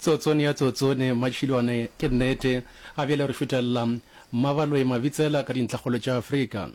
Tsotsone ya tsotsone, Matšhilwane, ke nnete. Ga bjale re šutelela Mmabaloi Mabitsela ka dintlhakgolo tša Afrika.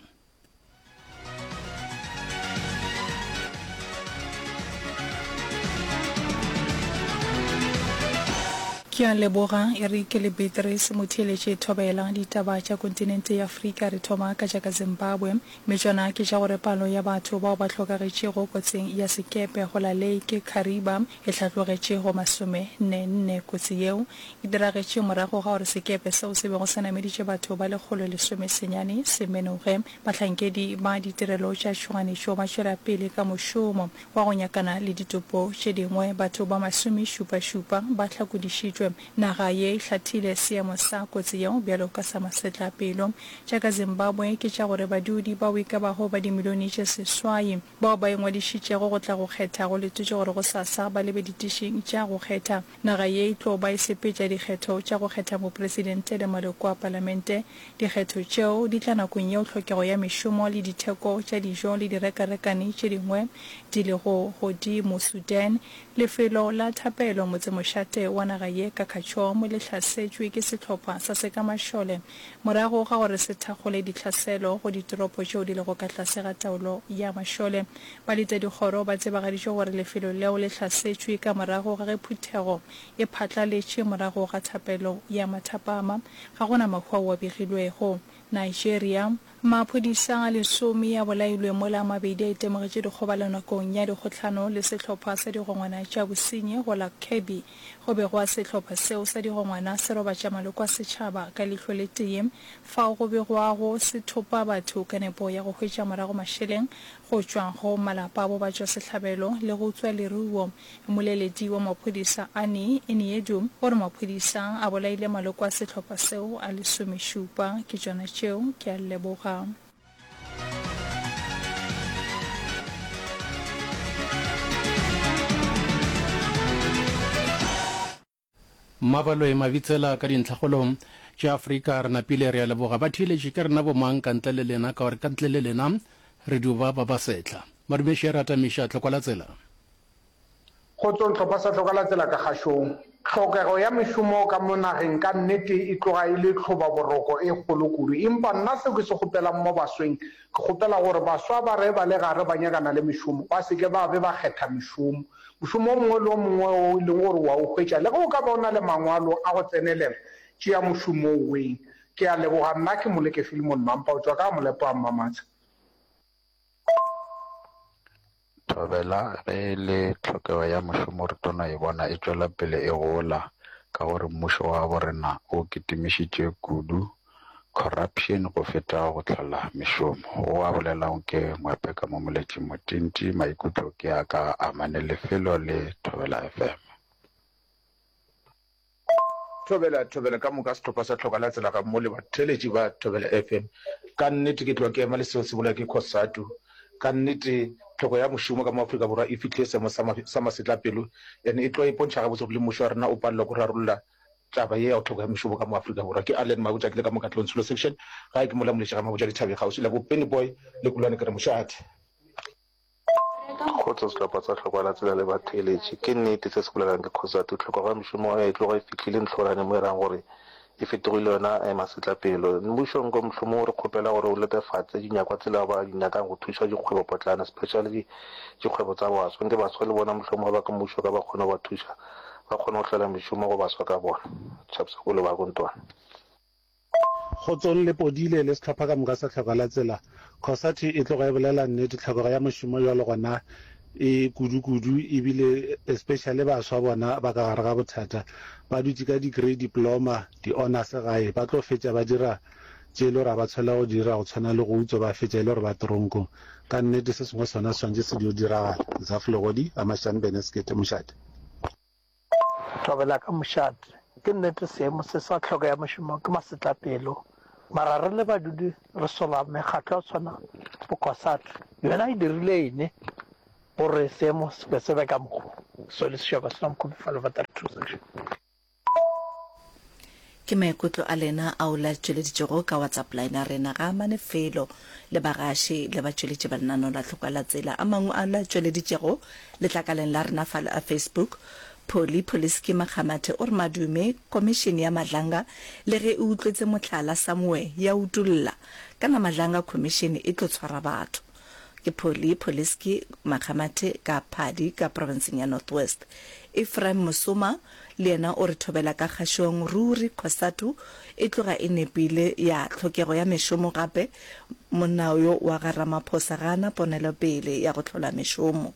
Ke a leboga Eric le Beatrice Motheeletše Thobela. Ditaba tša kontinente ya Afrika re thoma ka tša ka Zimbabwe. Mme tšona ke tša gore palo ya batho bao ba hlokagetšego kotsing ya sekepe go la Lake Kariba e hlatlogetše go masomenne-nne. Kotsi yeo e diragetše morago ga gore sekepe seo se bego se nameditše batho ba 119 se menoge. Bahlankedi ba ditirelo tša tšhoganetšo ba tšwela pele ka mošomo wa go nyakana le ditopo tše dingwe. Batho ba masomešupa-šupa ba hlakodišitšwe. Naga ye e hlathile seemo sa kotsi yeo bjalo ka sa masetlapelo. Tša ka Zimbabwe ke tša gore badudi bao e ka bago ba dimilione tše seswai bao ba ingwadišitšego go tla go kgetha go letetšwe gore gosasa ba lebe ditišing tša go kgetha. Naga ye e tlo ba e sepetša dikgetho tša go kgetha mopresidente le maloko a palamente. Dikgetho tšeo di tla nakong yeo tlhokego ya mešomo le ditheko tša dijo le direkarekane tše dingwe di lego godimo. Sudan, Lefelo la thapelo motsemošate wa naga ye ka Khartoum le hlasetšwe ke sehlopha sa sekamašole morago ga gore se thakgole ditlhaselo go ditoropo tšeo di lego ka tlase ga taolo ya mašole. Baletadikgoro ba tsebagaditše gore lefelo leo le hlasetšwe ka morago ga ge phuthego e phatlaletše morago ga thapelo ya mathapama. Ga go na mahu ao a begilwego. Nigeria, Maphodisa a lesome a bolailwe mola a mabedi a itemogetše dikgobalo nakong ya dikgohlano le sehlopha sa digongwana tša bosenyi go la Kebbi. Go begwa sehlopha seo sa digongwana se robatša maloko a setšhaba ka leihlo le tee fao go begwago se thopa batho ka nepo ya go hwetša morago mašeleng go tšwa go malapa a bobatšwasehlabelo le go utswa leruo. Mmoleledi wa maphodisa Annie Eniedu o re maphodisa a bolaile maloko a sehlopha seo a lesomešupa. Ke tšona tšeo, ke a leboga. Mmabaloi Mabitsela ka dintlhakgolong tša Afrika re napile re a leboga batheeletši ke rena bomang ka ntle le lena ka gore ka ntle le lena re dio ba ba ba sehla. Madumeši a re atamiša tlhokwa la tsela. Kgotsong hlopha sa hloka la tsela ka kgašong. Tlhokego ya mešomo ka mo nageng ka nnete e tloga e le tlhobaboroko e kgolo kudu. Empa nna seo ke se kgopelang mo basweng, ke kgopela gore baswa ba re ba le gare ba nyakana le mešomo, ba se ke ba be ba kgetha mešomo. Mošomo o mongwe le o mongwe wo e leng gore o a o hwetša, le ge o ka ba o na le mangwalo a go tsenelela, tšea mošomo o weng. Ke a leboga. Nna ke Moleke Philemon Mampa, o tšwa ka Molepo wa Mmamatsha. Thobela, Ge e le tlhokego ya mošomo re tlo no e bona e tšwela pele e gola ka gore mmušo wa gabo rena o kitimišitše kudu corruption go feta go hlola mešomo. Go a bolelago ke Ngwepe ka mo Moletši Motinti, maikutlo ke a ka amane lefelo le Thobela FM. Thobela, Thobela ka moka sehlopha sa Tlhoka la Tsela gammogo le batheeletši ba Thobela FM. Ka nnete ke tloga ke ema le seo se bolelwa ke Cosatu. Ka nnete tlhoko ya mošomo ka mo Afrika Borwa e fihlile seemo sa, sa masetlapelo and e tloga e pontšha gabotse gore le mmušo wa rena o palelwa ke go rarolla taba ye ya go tlhoko ya mešomo ka mo Afrika Borwa. Ke Allen Mabotja ke le ka mo Katlehong Tsholo Section, gae ke mola Moletši ga Mabotja dithabeng kgauswi la bo Penny Boy le Kulwane ke re mošate. Kgotso sehlopha sa Hlokwa la Tsela le batheeletši. Ke nnete se se bolelang ke Cosatu. Tlhokego ya mešomo e tloga e fihlile ntlhorane mo e rang gore e fetogile yona masetlapelo. Mmušo nko mohlomong re kgopela gore o letefatse dinyakwa tsela ba di nyakang go thuša dikgwebopotlana especially dikgwebo tsa baswa. Nke baswa le bona mohlomong ga ba ka mmušo ka ba kgone go ba thuša ba kgone go hlola mešomo go baswa ka bona. Chaps Kolo ba Kontwane. Kgotsong le Podile le sehlopha ka moka sa Tlhoko la Tsela. Cosatu e tloga e bolela nnete, tlhokego ya mošomo bjalo gona e kudu-kudu ebile especially baswa bona ba ka gare ga bothata. Ba dutše ka degree, diploma, di-honours gae, ba tlo fetša ba dira tše e le gore ga ba tshwanela go di dira go tshwana le go utswa ba fetša e le gore ba toronkong. Ka nnete se sengwe sona se swanetše se dio diragala. Zaf Legodi, Ga-Mashane Bene Sekete, Mošate. Thobela ka mošate. Ke nnete seemo se sa tlhoko ya mošomo ke masetlapelo, mara re le badudi re sola mekgatlo ya tshwana bo Cosatu. Yona e dirile ene gore seemo se be se be ka mokgo? Soli Seshego Slum Kopi Falo Vatari Section. Ke maikutlo a lena ao le a tšweleditšego ka WhatsApp line ya rena. Ga a amane felo le bagaši le batšweletši ba lenaneo la Tlhokwa la Tsela. A mangwe a le a tšweleditšego letlakaleng la rena fa la Facebook. Polly Poliski Makgamathe o re madume Komišene ya Madlanga le ge e utlwetse mohlala somewhere ya utolla kana Madlanga Commission e tlo tshwara batho. Ke Polly Poliski Makgamathe ka Phadi ka profenseng ya North West. Ephraim Mosoma le yena o re thobela ka kgašong ruri Cosatu e tloga e nepile ya tlhokego ya mešomo gape monna yo wa ga Ramaphosa ga a na ponelopele ya go hlola mešomo.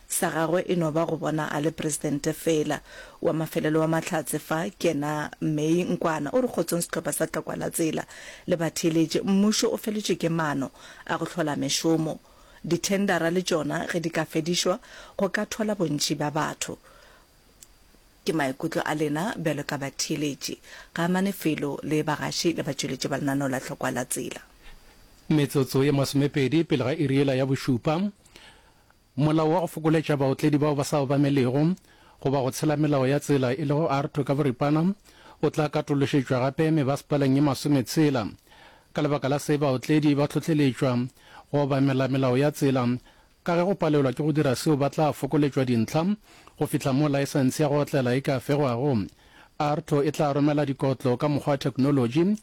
Sa gagwe e no ba go bona a le presidente feela. Wa mafelelo wa mahlatse fa ke yena May Nkwana o re kgotsong sehlopha sa Tlokwa la Tsela le batheeletši, mmušo o feletšwe ke maano a go hlola mešomo. Dithendara le tšona ge di ka fedišwa go ka thola bontši bja batho. Ke maikutlo a lena bjalo ka batheeletši. Ga amane felo le bagaši le batšweletši ba lenaneo la Tlokwa la Tsela. Metsotso ye masomepedi pele ga iri yela ya bošupa, Molao wa go fokoletša baotledi bao ba sa obamelego goba go tshela melao ya tsela e lego AARTO ka boripana o tla katološetšwa gape mebasepaleng ye masometshela. Ka lebaka la se baotledi ba hlohleletšwa go obamela melao ya tsela ka ge go palelwa ke go dira seo ba tla fokoletšwa dintlha go fihla mo laesense ya go otlela e ka fegwago. AARTO e tla romela dikotlo ka mokgwa wa theknolotši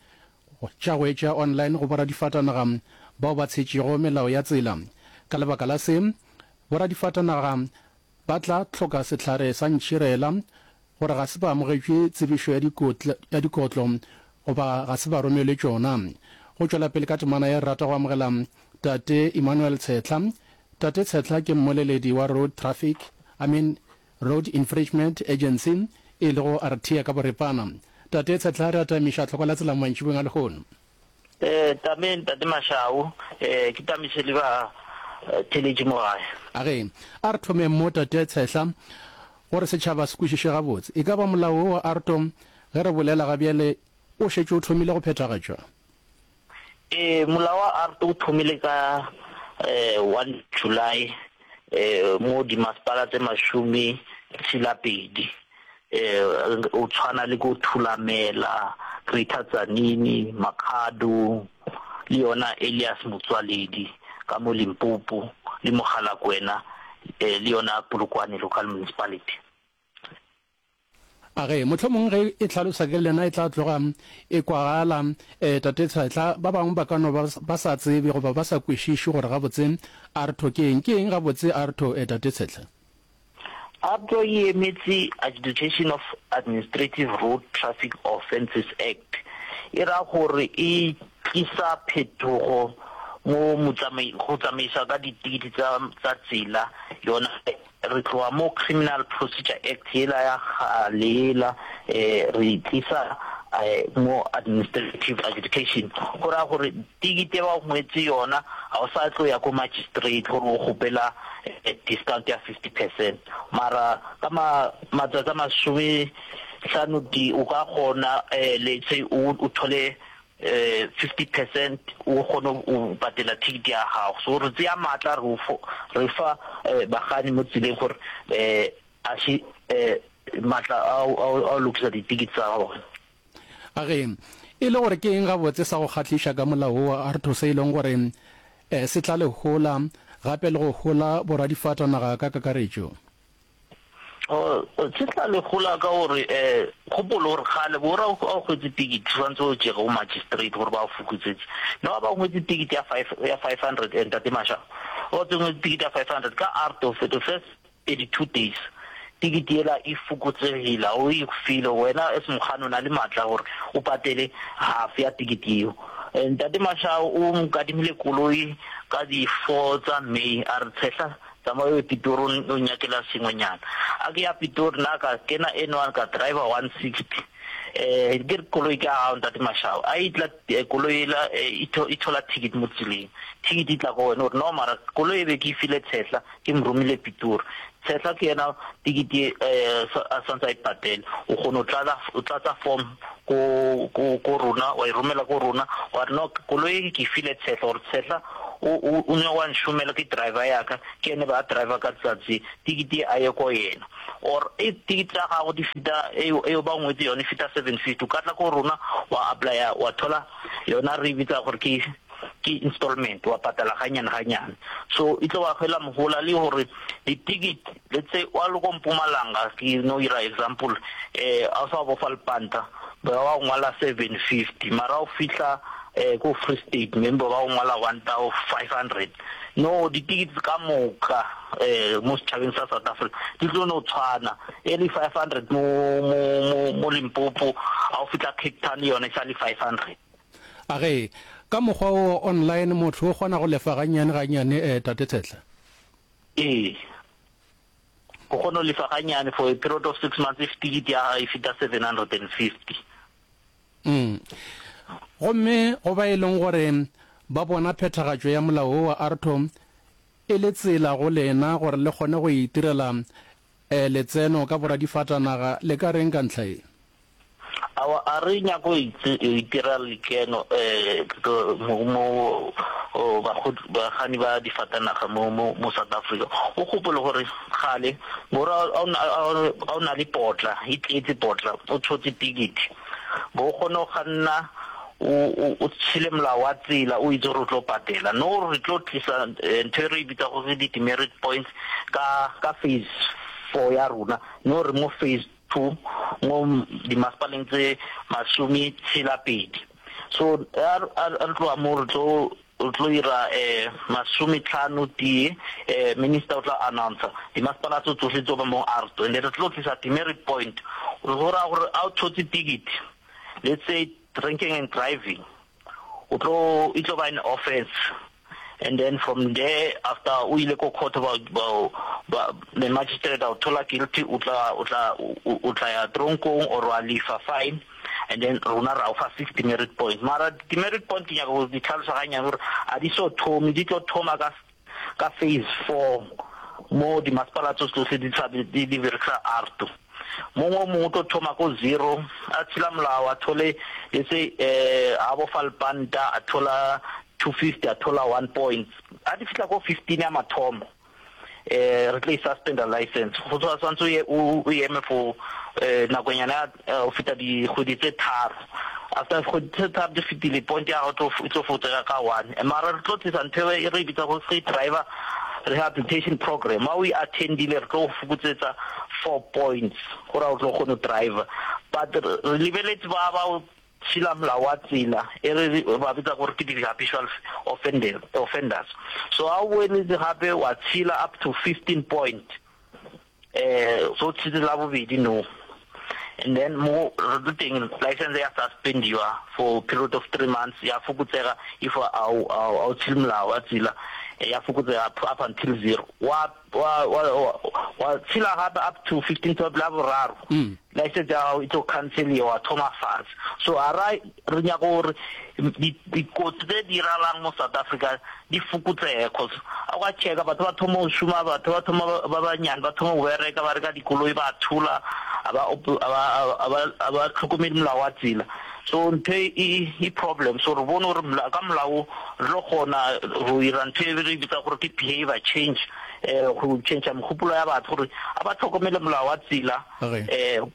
tša go etša online go boradifatanaga bao ba tshetšego melao ya tsela. Ka lebaka la se, boradifatanaga ba tla hloka sehlare sa ntšhirela gore ga se ba amogetšwe tsebišo ya dikotlo goba ga se ba romelwe tšona. Go tšwela pele ka temana ye re rata go amogela Tate Emmanuel Tshehla. Tate Tshehla ke mmoleledi wa Road Traffic, I mean, Road Infringement Agency, e lego RTA ka boripana. Tate Tshetla, re atamiša tlhoko la tsela mantšiboeng a lehono. Eh, tame Ntate Mashau, eh, ke tamise le ba theletše mo gae. A ge, a re thomeng mo, Tate Tshehla, gore setšhaba se kwešiše gabotse. E ka ba molao wo wa ARTO, ge re bolela ga bjale, o šetše o thomile go phethagatšwa? Ee, molao wa ARTO o thomile ka one July mo dimasepala tse mashome tshelapedi, o tshwana le ko Thulamela, Greater Tzaneen, Makhado le yona Elias Motsoaledi ka mo Limpopo le Mogalakwena le yona Polokwane Local Municipality. A ge, mohlomong ge e hlalosa ke lena e tla tloga e kwagala, e, Tate Tshehla, ba bangwe ba ka no ba ba sa tsebe goba ba sa kwešiše gore gabotse ARTO ke eng. Ke eng gabotse ARTO, e, Tate Tshehla? ARTO e emetše Adjudication of Administrative Road Traffic Offences Act. E ra gore e tlisa phetogo mo go tsamaisa ka ditikiti tsa tsa tsela yona Re tloga mo Criminal Procedure Act yela ya kgale yela, re e tlisa mo Administrative Adjudication. Go raya gore tikete ba go ngwetse yona, ga o sa tlo ya ko magistrate gore o kgopela discount ya 50 percent. Mara ka matsatsi a masome hlano tee o ka kgona let's say o thole 50 percent o kgone go patela ticket ya gago. So re tseya maatla re re fa bakganni mo tseleng gore a se maatla a go lokisa di-ticket tsa bona. A ge e le gore ke eng gabotse sa go kgahliša ka molao wo wa ARTO se e leng gore se tla le hola gape le go hola boradifatanaga ka kakaretšo? Se tla le hola ka gore gopolo gore kgale bo ra o hwetše ticket tshwantse o tšege go magistrate gore ba o fokotsetse. No ba hwetše ticket ya 5 ya 500 and Tate Masha o tsengwe ticket ya 500 ka ARTO for the first 32 days ticket yela e fokotsegile o e file wena as mokganni o na le matla gore o patele half ya ticket yeo. Ntate Masha o nkadimile koloi ka di 4 tsa May a re tshehla Tsamaya o ye Pitori o nnyakela sengwenyana. A ke ya Pitori nna ka kena N1 ka driver 160. Eh ke re koloi ke ya gago ntate Mashao. A e tla koloi ela e thola ticket mo tseleng. Ticket e tla ko wena o re no mara koloi e be ke e file Tshehla ke mo romile Pitori. Tshehla ke yena ticket e a santse a e patele. O kgona go tlala o tlatsa form ko ko ko rona wa e romela ko rona wa re no koloi e ke e file Tshehla gore Tshehla O, o, o nyaka wa nšomela, ke driver ya ka, ke ene ba driver ka tsatsi, tikiti ye a ye ko yena. Or if tikiti tsa gago di feta, eo, eo ba ngwetse yone e feta 750, o ka tla ko rona wa applya, wa thola yona re e bitsa gore ke, Ke installment, wa patala ganyane ganyane. So e tlo ba hwela mohola le gore di ticket, let's say wa le ko Mpumalanga, ke no ira example, eh a o sa bofa lepanta, ba ba go ngwala 750, mara o fihla eh ko Free State maybe ba go ngwala 1500. No, di tickets ka moka eh mo setšhabeng sa South Africa di tlo no tshwana, e le 500 mo mo mo mo Limpopo, ha o fihla Cape Town le yona e sa le 500. A ge, ka mokgwa wo online motho o kgona go lefa gannyane gannyane eh, Tate Tshehla? Ee. O kgona go lefa gannyane for a period of six months if ticket ya gago e feta 750. Mm. Gomme go ba e leng gore ba bona phethagatšo ya molao wo wa ARTO e le tsela go lena gore le kgone go itirela eh, letseno ka boradifatanaga, le ka reng ka ntlha ye? Aowa, a re nyake go itira lekeno mo bakganni ba difatanaga mo South Africa. O gopole gore kgale gore ga o na le potla, e tletse potla, o tshotse ticket, bo o kgone go kganna o tshele molao wa tsela o itse gore o tlo patela. No re tlo tlisa ntho e re e bitsa gore di-demerit points ka phase four ya rona, no re mo phase 2 mo dimasepaleng tse masometshela-pedi. So a re tloga mo re tlo re tlo ira masometlhano tee, minister o tla announcer dimasepala tso tsohle tso ba mo ARTO and re tlo tlisa demerit point go raya gore a o thotse ticket let's say drinking and driving o tlo e tlo ba an offense and then from there after o ile ko court ba ba ba the magistrate a o thola guilty o tla o tla o tla ya tronkong or wa lefa fine and then rona ra o fa 60 demerit points mara demerit point ke nyaka go di tlhalosa ganyane gore a di so thome di tlo thoma ka ka phase 4 mo dimasepala tso tsohle di tla di di berekisa ARTO mongwe o mongwe o tlo thoma ko zero a tshela molao a thole let's say eh a bofa lepanta a thola 250 a thola 1 points a di fihla ko 15 ya mathomo eh re tlo e suspenda license go tswa swantse o ye o eme for eh nakonyana ya o feta dikgwedi tse tharo after dikgwedi tse tharo di fetile point ya gago e tlo fokotsega ka one mara re tlo tlisa ntho e re e bitsa go free driver rehabilitation program ha o e attendile re tlo go fokotsetsa four points gore o tlo kgone go driver but re lebeletse ba ba tshela molao wa tsela e re ba bitsa gore ke di-habitual offenders so ha o boeletse gape wa tshela up to 15 point eh so tshetse la bobedi no and then mo re tlo teng license ya suspendiwa for period of 3 months ya fokotsega if a o tshele molao wa tsela ya fokotsega up until zero wa wa wa wa tshela gape up to 15 12 la boraro mm. license ya gago e tlo canceliwa wa thoma fatshe so a ra re nyaka gore dikotsi tse di diralang mo South Africa di fokotsege cause a kwa checka batho ba thoma go šoma batho ba thoma ba banyane ba thoma go bereka ba reka dikoloi ba thula a ba a ba tlhokomele molao wa tsela so ntho e e problem so re bone gore ka molao re tlo kgona go ira ntho e re bitsa gore ke behavior change um go change megopolo ya batho gore a ba tlhokomele molao wa tsela um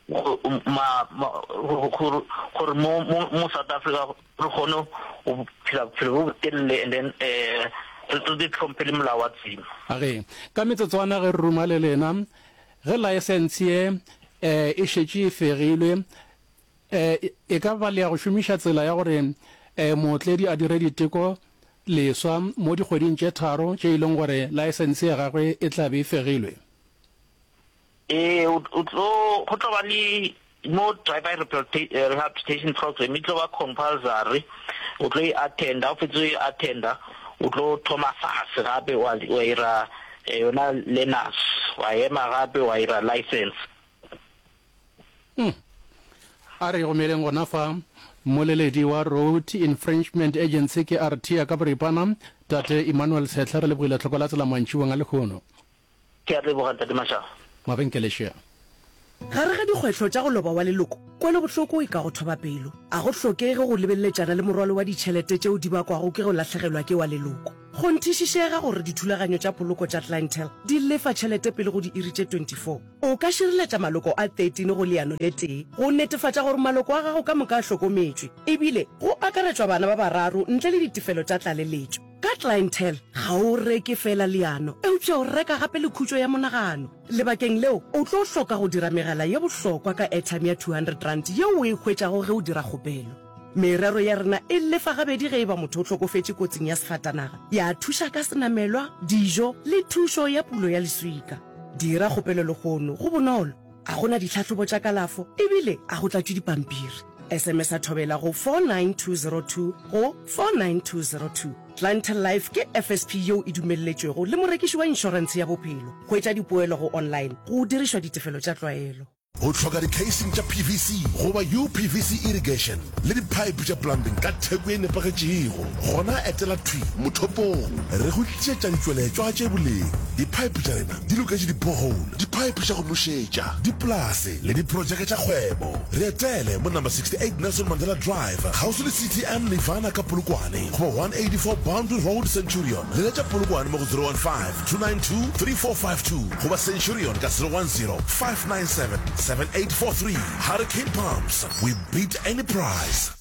gore mo South Africa re kgone go phela bophelo bo botelele and then um re re tlhomphe le molao wa tsela. Age, ka metsotswana ge re ruma le lena, ge laesense ye um e šetše e fegilwe, E, e ka ba le ya go šomiša tsela ya gore e, mootledi a dire diteko leswa mo dikgweding tše tharo tše e leng gore laesense ya gagwe e tla be e fegilwe. Ee, o, o tlo, go tlo ba le mo driver rehabilitation program e tlo ba compulsory, o tlo e attenda, ha o fetsa o e attenda, o tlo thoma fase gape wa, wa ira yona learners, wa ema gape wa ira license. Hmm. A re gomeleng gona fa mmoleledi wa Road Infringement Agency ke RT ka boripana, Tate Emmanuel Tshehla, re lebogile tlhoko la tsela mantšiboeng a lehono. Ke a leboga Ntate Mashaba. Mabenkele šea. Gare ga dikgwetlho tša go loba wa leloko, kwelobohloko e ka go thoba pelo. A go hlokege go lebeleletšana le morwalo wa ditšhelete tšeo di bakwago ke go lahlegelwa ke wa leloko. Kgonthišišega gore dithulaganyo tša poloko tša Clientele di lefa tšhelete pele go diiri tše 24. O ka šireletša maloko a 13 go leano le tee go netefatša gore maloko a gago ka moka a hlokometšwe, ebile go akaretšwa bana ba bararo ntle le ditefelo tša tlaleletšo. Ka Clientele, ga o reke feela leano, eupša o reka gape le khutšo ya monagano. Lebakeng leo, o tlo hloka go dira megala ye bohlokwa ka airtime ya R200 yeo o e hwetšago ge o dira kgopelo. Merero ya rena e lefa gabedi ge e ba motho o hlokofetše kotsing ya sefatanaga, ya thuša ka senamelwa, dijo le thušo ya pulo ya leswika. Dira kgopelo lehono, go bonolo, a go na ditlhahlobo tša kalafo ebile a go tlatšwe dipampiri. SMS-a Thobela go 49202 go 49202. Clientele Life ke FSP yeo e dumelletšwego le morekiši wa inšorentshe ya bophelo. Hwetša dipoelo go online go dirišwa ditefelo tša tlwaelo. O hloka di-casing tša PVC goba UPVC irrigation le di-pipe tša plumbing ka theko ye nepagetšego? Gona etela thwi mothopong. Re go tlišetša ditšweletšwa tše boleng. Di-pipe tša rena di loketše di-borehole, di-pipe tša go nošetša, dipolase le diprojeke tša kgwebo. Re etele mo number 68 Nelson Mandela Drive, kgauswi le CTM Nirvana ka Polokwane goba 184 Boundary Road, Centurion. Leletša Polokwane mo go 015 292 3452 goba Centurion ka 010 597 7843. Hurricane Pumps, we beat any price.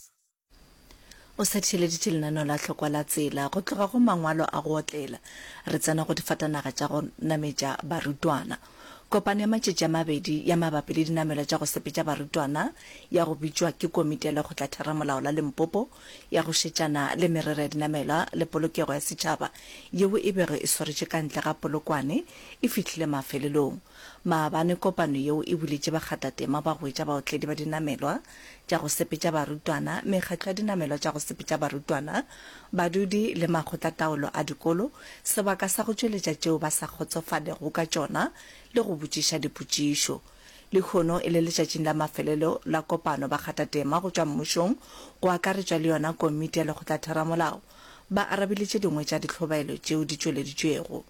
O sa theeleditše lenaneo la Hlokwa la Tsela. Go tloga go mangwalo a go otlela, re tsena go difatanaga tša go nametša barutwana. Kopano ya matšatši a mabedi ya mabapi le dinamelwa tša go sepetša barutwana ya go bitšwa ke Komiti ya Lekgotlatheramolao la Limpopo ya go šetšana le merero ya dinamelwa le polokego ya setšhaba yeo e bego e swaretšwe ka ntle ga Polokwane e fihlile mafelelong. Maabane kopano yeo e buletše bakgathatema ba go etša baotledi ba dinamelwa tša go sepetša barutwana, mekgatlo ya dinamelwa tša go sepetša barutwana, badudi le makgotlataolo a dikolo sebaka sa go tšweletša tšeo ba sa kgotsofalego ka tšona le go botšiša dipotšišo. Lehono e le letšatšing la mafelelo la kopano bakgathatema go tšwa mmušong go akaretšwa le yona komiti ya lekgotlatheramolao ba arabile tše dingwe tša dihlobaelo tšeo di tšweleditšwego.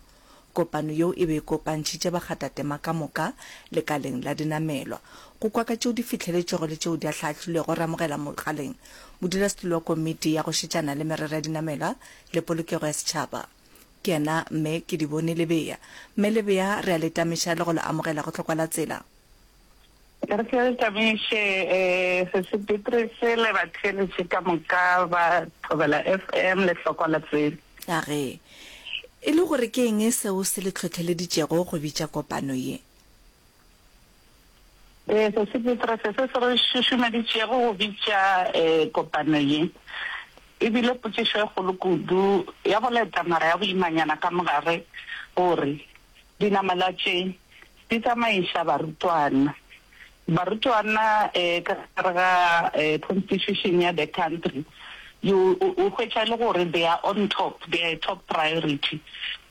Kopano yeo e be e kopantšhitše bakgathatema ka moka lekaleng la dinamelwa. Go kwa ka tšeo di fihleletšwego le tšeo di ahlaahlilwego re amogela mogaleng modulasetulo wa komiti ya go šetšana le merero ya dinamelwa le polokego ya setšhaba ke yena Mme Kedibone Lebea. Mme Lebea re a le tamiša le go le amogela go Hlokwa la Tsela. Re tle re tamiše Sesi Beatrice le batheeletši ka moka ba Thobela FM le Hlokwa la Tsela. A ge e le gore ke eng seo se le hlohleleditšego go bitša kopano ye? Ee, Sesi Beatrice, se se re šušumeditšego go bitša kopano ye e bile potšišo e kgolo kudu ya boleta mara ya boimanyana ka mogare gore Dinamela tše di tsamaiša barutwana. Barutwana ka gare ga constitution ya the country you o hwetša e le gore they are on top, they are a top priority.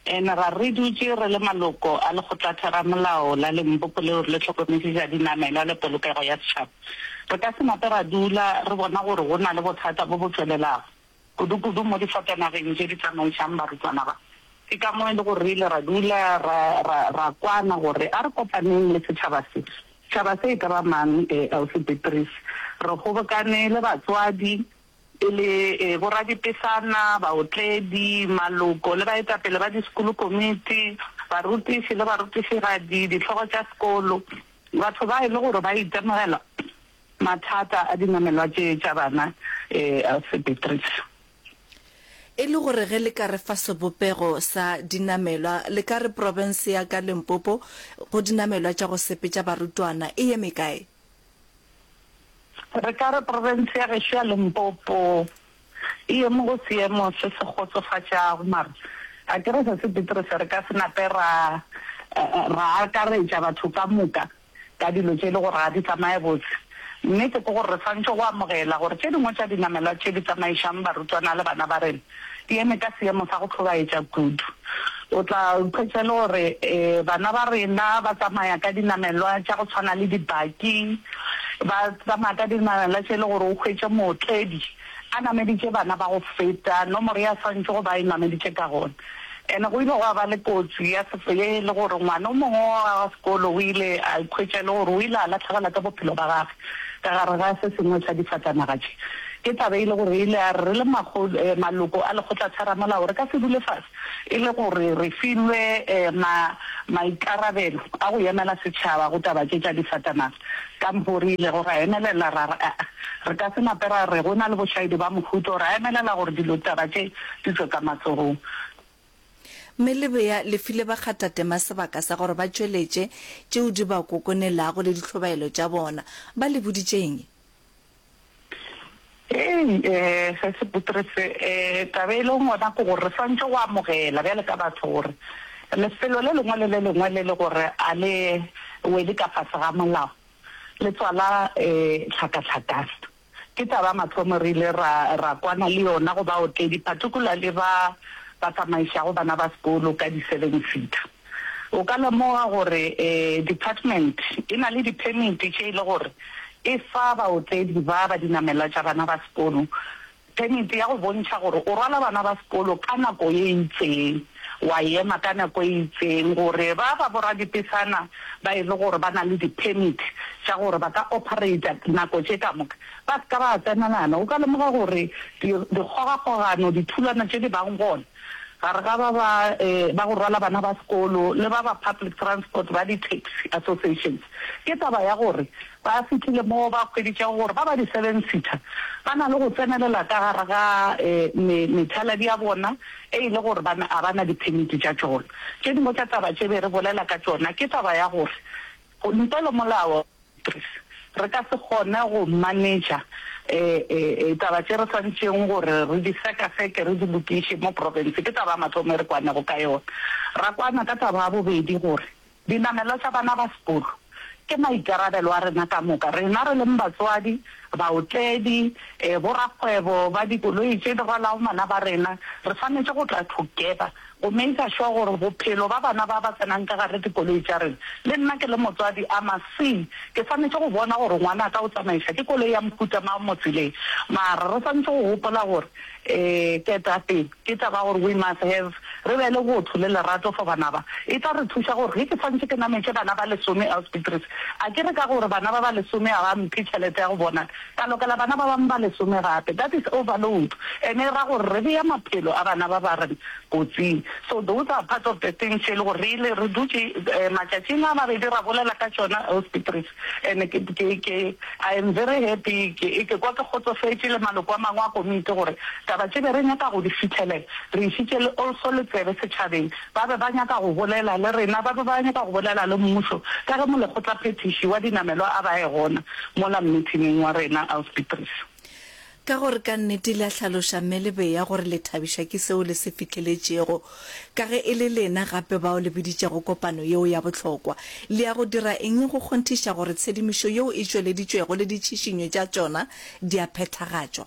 And ra re dutše re le maloko a lekgotlatheramolao la Limpopo leo le hlokomešiša dinamelwa le polokego ya setšhaba, re ka se nape ra dula re bona gore go na le bothata bo bo tšwelelago. kudu-kudu mo difatanageng tše di tsamaišang barutwana ba. Ke ka mo e le gore re ile ra dula ra, ra, ra kwana gore a re kopaneng le setšhaba se. Setšhaba se e ka ba mang, eh, Ausi Beatrice? Re kgobokane le batswadi, e le, eh, boradipesana, baotledi, maloko le baetapele ba disekolokomiti, barutiši le barutišigadi, dihlogo tša sekolo, batho ba e le gore ba itemogela Mathata a dinamelwa tše tša bana Elsie Beatrice. E le gore ge le ka re fa sebopego sa dinamelwa, le ka re profense ya ka Limpopo go dinamelwa tša go sepetša barutwana e eme kae? Re ka re profense ya gešo ya Limpopo e eme go seemo se se kgotsofatšago, mara a ke re Sesi Beatrice re ka se nape ra ra akaretša batho ka moka. ka dilo tše e le gore ga di tsamaye botse. Nnete ke gore re swanetše go amogela gore tše dingwe tša dinamelwa tše di tsamaišang barutwana le bana ba rena di eme ka seemo sa go hlobaetša kudu. O tla ikhwetša e le gore bana ba rena ba tsamaya ka dinamelwa tša go tshwana le dibaki, ba tsamaya ka dinamelwa tše e le gore o hwetše mootledi a nameditše bana ba go feta nomoro ye a swanetše go ba a e nameditše ka gona. And go ile gwa ba le kotsi ya ye e le gore ngwana o mongwe wa sekolo o ile a ikhwetša e le gore o ile a lahlegelwa ke bophelo ba gagwe ka gare ga se sengwe sa difatanaga tše. Ke taba e le gore e ile ya re re le maloko a Lekgotlatheramolao re ka se dule fase e le gore re filwe ma maikarabelo a go emela setšhaba go taba tše tša difatanaga. Ka mpho re ilego ra emelela ra re aa, re ka se nape ra re go na le bošaedi ba mohuta ra emelela gore dilo taba tše di tšwe ka matsogong. Mme Lebea le file bakgathatema sebaka sa gore ba tšweletše tšeo di ba kokonelago le ditlhobaelo tša bona. Ba le boditše eng? Hei, eh, se se Petrose, eh, taba e leng gona ke gore re swantše go amogela bjale ka batho gore lefelo le lengwe le le lengwe le le gore a le wele ka fase ga molao le tswala eh, tlhakatlhakano. Ke taba ya mathomo re ile ra, ra kwana le yona go baotledi, particularly ba ba tsamaišago bana ba sekolo ka di-seven-seater. O ka lemoga gore department e na le di-permit tše e le gore e fa baotledi ba ba dinamelwa tša bana ba sekolo permit ya go bontšha gore o rwala bana ba sekolo ka nako ye itseng, wa ema ka nako e itseng gore ba ba boradipesana ba e le gore ba na le di-permit tša gore ba ka operator nako tše ka moka ba se ka ba tsenelana. O ka lemoga gore dikgogakgogano, dithulano tše di bang gona Gare ga ba ba ba go rwala bana ba sekolo le ba ba public transport ba di-taxi associations, ke taba ya gore ba fihlile mo ba hweditšego gore ba ba di-seven-seater ba na le go tsenelela ka gare ga methaladi ya bona e e le gore ba ga ba na di-permit tša tšona. Tše dingwe tša taba tše be re bolela ka tšona ke taba ya gore ntle le molao, Re ka se kgone go manetša taba tše re swanetšeng gore re di sekaseke, re di lokiše mo profense. Ke taba ya mathomo e re kwanego ka yona. Ra kwana ka taba ya bobedi gore dinamelwa tša bana ba sekolo ke maikarabelo a rena ka moka, rena re leng batswadi, baotledi, borakgwebo ba dikoloi tše di rwalago bana ba rena, re swanetše go tla together Go maker sure gore bophelo ba bana ba ba tsenang ka gare dikoloi tša rena, le nna ke le motswadi I must see, ke swanetše go bona gore ngwanaka o tsamaiša ke koloi ya mohuta mang mo tseleng. Mara re swanetše go gopola gore um ketapele ke taba ya gore we must have, re be le botho le lerato for bana ba. E tla re thuša gore ge ke swanetše ke nametše bana ba lesome Ausbeatrice, a ke re ka gore bana ba ba lesome ga ba mphe tšhelete ya go bona, ka lokela bana ba bangwe ba lesome gape. That is overload and e ra gore re bea maphelo a bana ba ba rena kotsing. So those are part of the things tše e le gore re ile re dutše matšatšing a mabedi ra bolela ka tšona Ausi Beatrice and ke ke ke I am very happy ke ke kwa ke kgotsofetše le maloko a mangwe a komiti gore taba tše be re nyaka go di fihlelela re išitše le also le tsebe setšhabeng Ba be ba nyaka go bolela le rena, ba be ba nyaka go bolela le mmušo, ka ge molekgotlaphethiši wa dinamelwa a ba e gona mola mmithining wa rena, Ausi Beatrice. Ka gore ka nnete le a hlaloša mme le beya gore le thabišwa ke seo le se fihleletšego. Ka ge e le lena gape bao le biditšego kopano yeo ya bohlokwa, le ya go dira eng go kgonthiša gore tshedimošo yeo e tšweleditšwego le ditšhišinyo tša tšona di a phethagatšwa?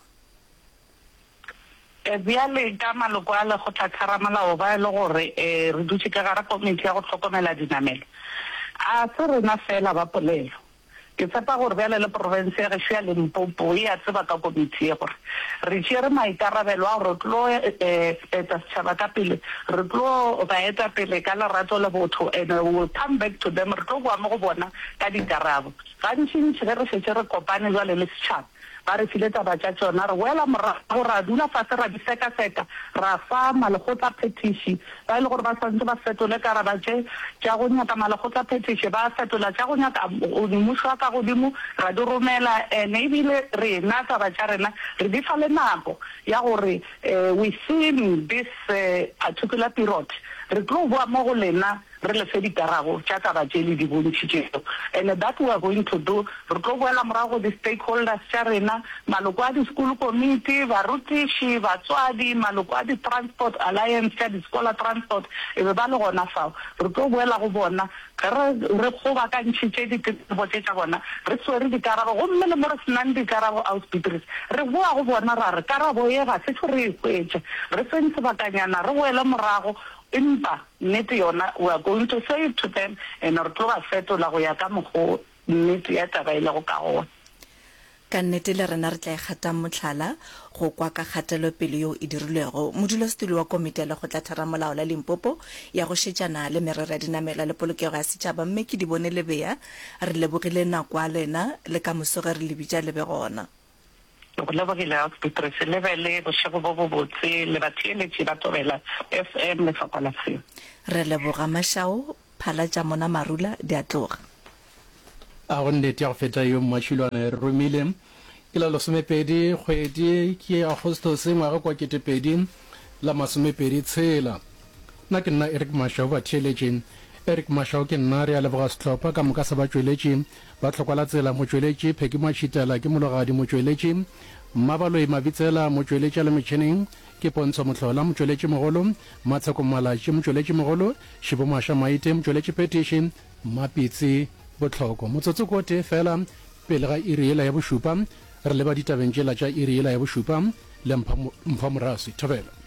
Bjale ka maloko a Lekgotlatheramolao ba e le gore re dutše ka gare komiti ya go hlokomela dinamelo, a se rena feela ba polelo. Ke tshepa gore bjale le profense ya gešo ya Limpopo e a tseba ka komiti ye gore re tšere maikarabelo a gore re tlo eta setšhaba ka pele, re tlo ba eta pele ka lerato le botho and we will come back to them, re tlo boa mo go bona ka dikarabo. Gantšintši ge re šetše re kopane bjale le setšhaba, Ba re file taba tša tšona. Re boela morago ra dula fase ra di sekaseka, ra fa malekgotlaphethiši ba e le gore ba swanetše ba fetole karaba tše tša go nyaka malekgotlaphethiši, ba fetola tša go nyaka mmušo wa ka godimo, ra di romela. And ebile rena taba tša rena re di fa le nako ya gore within this particular period re tlo boa mo go lena re le fe dikarabo tša taba tše le di bontšhitšego and that we are going to do. Re tlo boela morago go di-stakeholders tša rena, maloko a di-school committee, barutiši, batswadi, maloko a di-transport alliance tša di-scholar transport e be ba le gona fao. Re tlo boela go bona ge re re kgobakantšhitše ditletlebo tše tša bona, re swere dikarabo gomme le mo re se nang dikarabo Ausi Beatrice, re boa go bona ra re karabo ye ga se tšo re e hwetša, re feng sebakanyana re boele morago empa Nnete yona, we are going to say it to them and re tlo ba fetola go ya ka mokgo nnete ya taba e lego ka gona. Ka nnete le rena re tla e kgatang mohlala go kwa ka kgatelopele yeo e dirilwego. Modulasetulo wa Komiti ya Lekgotlatheramolao la Limpopo ya go šetšana le merero ya dinamelwa le polokego ya setšhaba, Mme Kedibone Lebea, re lebogile nako ya lena le ka moso ge re le bitša le be gona. Ke go lebogile Ausi Petrus. Le be le bošego bo bobotse le batheeletši ba Thobela FM Lefapha la Seo. Re leboga Mashao, phala tša mona marula di a tloga. A go nnete ya go feta yo Mmatšhilwane e re romile. Ke la lesomepedi kgwedi ke Agostose ngwaga kwa ketepedi la masomepedi tshela. Nna ke nna Eric Mashau batheeletši. Eric Mashau ke nna, re a leboga sehlopha ka moka sa batšweletši ba Tlhokwa la Tsela, motšweletši Pheki Matšhitela ke Mologadi, motšweletši Mmabaloi Mabitsela, motšweletši a le metšhineng ke Pontsho Mohlola, motšweletši mogolo Matsheko Malatši, motšweletši mogolo Šibo Masha Maite, motšweletši phethiši Mmapitsi Bohloko. Motsotso ko tee fela pele ga iri yela ya bošupa, re leba ditabeng tšela tša iri yela ya bošupa le Mpho Mpho Moraswi. Thobela.